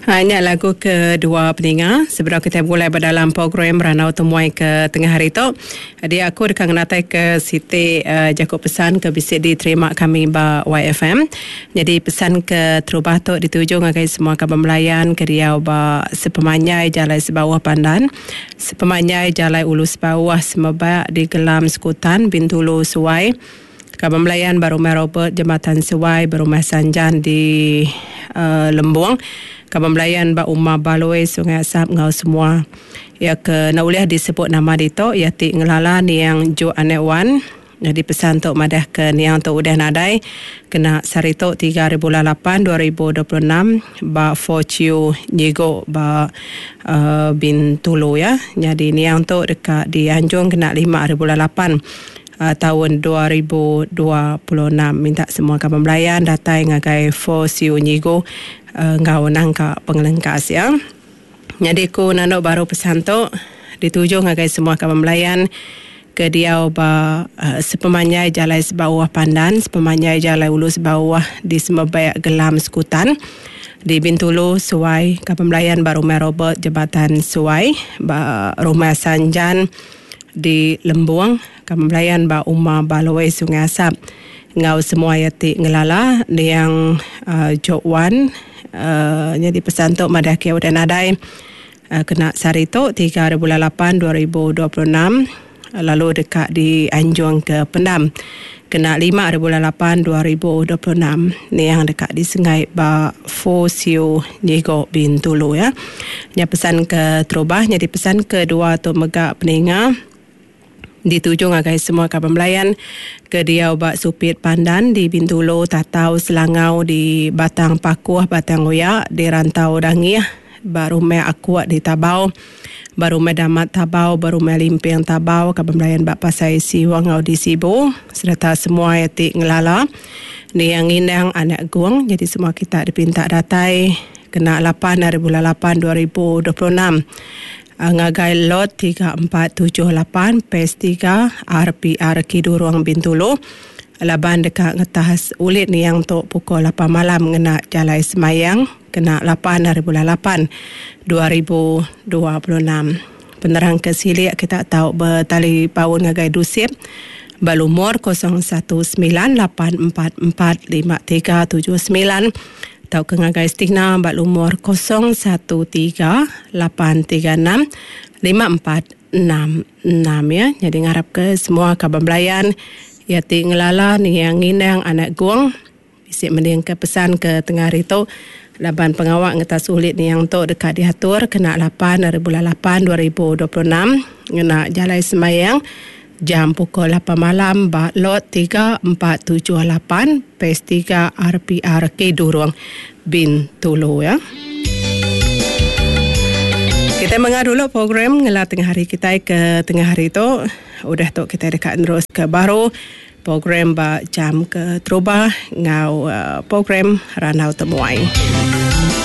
Ha nya lagu kedua peninga sebedau kitai begulai ba dalam program Randau Temuai ke tengah hari tu. Dia aku deka ngenatai ke siti jaku pesan ke bisi diterima kami ba YFM. Nyadi pesan ke terubah tu dituju ngagai semua kaban belayan ke diau ba sepemanjai Jalai Sebauh Pandan, sepemanjai Jalai Ulu Sebauh Semebak di Gelam Sekutan Bintulu Suai. Kaban belayan ba Rumah Robert Jembatan Sewai ba Rumah Sanjan di Lembong. Kaban belayan ba Uma Baloi Sungai Asap enggau semua iya ke enda ulih disebut nama ditu iya ti ngelala niang Juk Anek Wan. Nyadi pesan tu madah ke niang tu udah nadai kena sehari tu tiga hari bulan lapan 2026 ba Fo Chiu Nyigo ba Bintulu ya. Nyadi niang tu deka dianjung kena lima hari bulan lapan. Taun 2026 minta semua kaban belayan datai ngagai Fo Siu Nyigu enggau nangka pengelengkas iya. Nyadi ku nandu baru pesan tu dituju ngagai semua kaban belayan ke diau ba sepemanjai Jalai Sebauh Pandan, sepemanjai Jalai Ulu Sebauh di Semebek Gelam Sekutan, di Bintulu Suai, kaban belayan ba Rumah Robert Jabatan Suai, ba Rumah Sanjan, Di Lembong, kami belayan ba Uma Baloi Sungai Asap enggau semua iya ti ngelala niang Jok Wan nyadi pesan tu madah ke udah nadai kena sehari tu tiga hari bulan lapan 2026 lalu deka dianjung ke pendam kena lima hari bulan lapan 2026 niang deka disenggai ba Fo Siu Nyigo Bintulu ya. Nya pesan ke terubah nyadi pesan kedua tu mega peninga dituju ngagai semua kaban belayan ke diau ba Supit Pandan di Bintulu, Tatau, Selangau di Batang Pakuh, Batang Oya, di Rantau Dangih, ba Rumah Akuk di Tabau, ba Rumah Damat Tabau, ba Rumah Limping Tabau, kaban belayan ba Pasai Siwa enggau di Sibu sereta semua iya ti ngelala niang Ngindang anak Gong nyadi semua kita dipinta datai Kena lapan ari bulan lapan 2026 ngagai Lot 3478 Phase tiga RPR Kidurong Bintulu laban deka ngetas ulit niang tu pukul lapan malam ngena Jalai Semayang kena lapan ari bulan lapan 2026. Penerang ke silik kita tau betalipaun ngagai Dusit ba lumur 0198445379 tauka ngagai Stina ba lumur 0138365466 ya. Nyadi ngarapka semua kaban belayan iya ti ngelala niang ngindang anak Gong bisi mendingka pesan ke tengah hari tu laban pengawa ngetas ulit niang tu deka diatur kena lapan ari bulan lapan 2026 ngena jalai sembahyang jam pukul lapan malam ba Lot 3478 Phase tiga RPR Kidurong Bintulu ya. Kitai menga dulu program ngela tengah hari kitai ke tengah hari tu. Udah tu kitai deka nerus ke baru program ba jam ke terubah enggau program Randau Temuai.